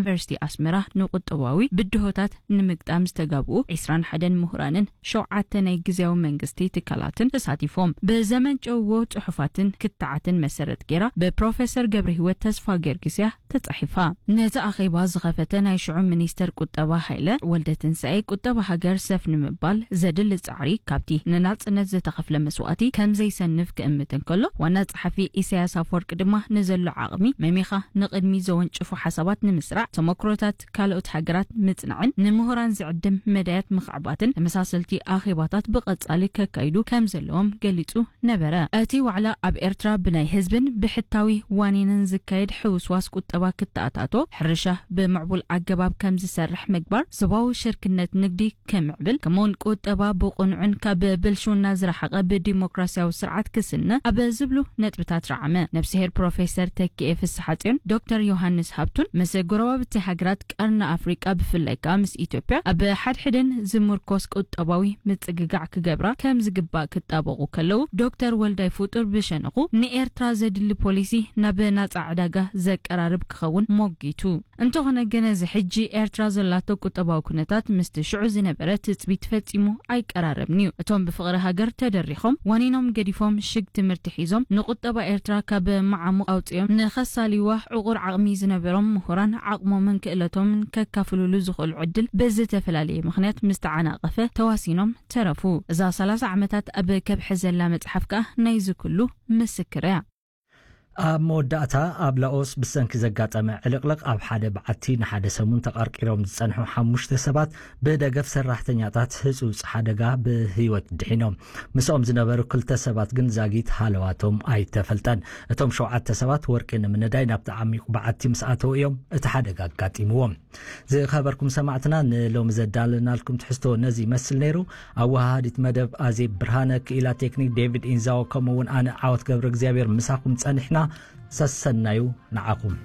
ዩኒቨርሲቲ ኣስመራ ንቁጠባዊ ብድሆታት ንምግጣም ዝተጋብኡ ዕስራን ሓደን ምሁራንን ሸውዓተ ናይ ግዝያዊ መንግስቲ ትካላትን ተሳቲፎም ብዘመንጨውዎ ጽሑፋትን ክትዓትን መሰረት ገይራ ብፕሮፌሰር ገብረ ህይወት ተስፋ ጊዮርጊስ እያ ተጻሒፋ። ነዚ ኣኼባ ዝኸፈተ ናይ ሽዑ ሚኒስተር ቁጠባ ሃይለ ወልደ ትንሳኤ፣ ቁጠባ ሃገር ሰፍ ንምባል ዘድሊ ጻዕሪ ካብቲ ንናጽነት ዝተኸፍለ መስዋእቲ ከም ዘይሰንፍ ክእምት እንከሎ፣ ዋና ጸሓፊ ኢሳያስ ኣፈወርቂ ድማ ንዘሎ ዓቕሚ መሚኻ ንቕድሚ ዘወንጭፉ ሓሳባት ንምስራዕ፣ ተመክሮታት ካልኦት ሃገራት ምጽናዕን ንምሁራን ዝዕድም መዳያት ምኽዕባትን ተመሳሰልቲ ኣኼባታት ብቐጻሊ ከካይዱ ከም ዘለዎም ገሊጹ ነበረ። እቲ ዋዕላ ኣብ ኤርትራ ብናይ ህዝብን ብሕታዊ ዋኒንን ዝካየድ ሕውስዋስ ቁጠባ ክተኣታቶ፣ ሕርሻ ብምዕቡል ኣገባብ ከም ዝሰርሕ ምግባር፣ ዞባዊ ሽርክነት ንግዲ ከምዕብል፣ ከምኡውን ቁጠባ ብቕኑዕን ካብ ብልሽውና ዝረሓቐ ብዲሞክራሲያዊ ስርዓት ክስነ ኣብ ዝብሉ ነጥብታት ረዓመ። ነብስሄር ፕሮፌሰር ተኪኤ ፍስሓጽዮን ዶክተር ዮሃንስ ሃብቱን ምስ ጎረባብቲ ሃገራት ቀርኒ ኣፍሪቃ ብፍላይ ከኣ ምስ ኢትዮጵያ ኣብ ሓድሕደን ዝምርኮስ ቁጠባዊ ምጽግጋዕ ክገብራ ከም ዝግባእ ክጣበቑ ከለዉ፣ ዶክተር ወልዳይ ፍጡር ብሸነኹ ንኤርትራ ዘድሊ ፖሊሲ ናብ ናጻ ዕዳጋ ዘቀራርብ ክኸውን ሞጊቱ። እንተኾነ ግን እዚ ሕጂ ኤርትራ ዘላቶ ቁጠባዊ ኩነታት ምስቲ ሽዑ ዝነበረ ትጽቢት ፈጺሙ ኣይቀራረብን እዩ። እቶም ብፍቕሪ ሃገር ተደሪኾም ዋኒኖም ገዲፎም ሽግ ትምህርቲ ሒዞም ንቁጠባ ኤርትራ ካብ መዓሙቕ ኣውጺኦም ንኸሳልይዋ ዕቑር ዓቕሚ ዝነበሮም ምሁራን ዓቕሞምን ክእለቶምን ከካፍሉሉ ዝኽእሉ ዕድል ብዝተፈላለየ ምኽንያት ምስ ተዓናቐፈ ተዋሲኖም ተረፉ። እዛ ሰላሳ ዓመታት ኣብ ከብሒ ዘላ መጽሓፍ ከኣ ናይዚ ኩሉ ምስክር እያ። ኣብ መወዳእታ ኣብ ላኦስ ብሰንኪ ዘጋጠመ ዕልቕልቕ ኣብ ሓደ በዓቲ ንሓደ ሰሙን ተቐርቂሮም ዝጸንሑ ሓሙሽተ ሰባት ብደገፍ ሰራሕተኛታት ህጹጽ ሓደጋ ብህይወት ድሒኖም። ምስኦም ዝነበሩ ክልተ ሰባት ግን ዛጊት ሃለዋቶም ኣይተፈልጠን። እቶም ሸውዓተ ሰባት ወርቂ ንምንዳይ ናብቲ ዓሚቕ በዓቲ ምስ ኣተዉ እዮም እቲ ሓደጋ ኣጋጢምዎም። ዝኸበርኩም ሰማዕትና፣ ንሎሚ ዘዳለናልኩም ትሕዝቶ ነዚ ይመስል ነይሩ። ኣወሃሃዲት መደብ ኣዜብ ብርሃነ፣ ክኢላ ቴክኒክ ዴቪድ ኢንዛዎ፣ ከምኡ እውን ኣነ ዓወት ገብረ እግዚኣብሔር ምሳኹም ጸኒሕና። ሰሰናዩ ንዓኹም።